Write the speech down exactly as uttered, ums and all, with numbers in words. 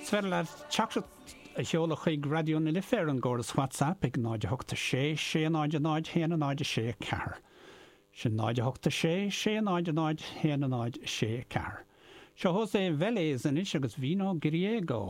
Is féidir leat teachtaireacht a sheoladh chuig Raidió na Life ar an gcóras WhatsApp ag náid a hocht sé sé náid náid haon náid sé ceathair. Sin náid hocht sé sé náid náid haon náid sé ceathair. Seo José Vélez anois agus Vino Griego.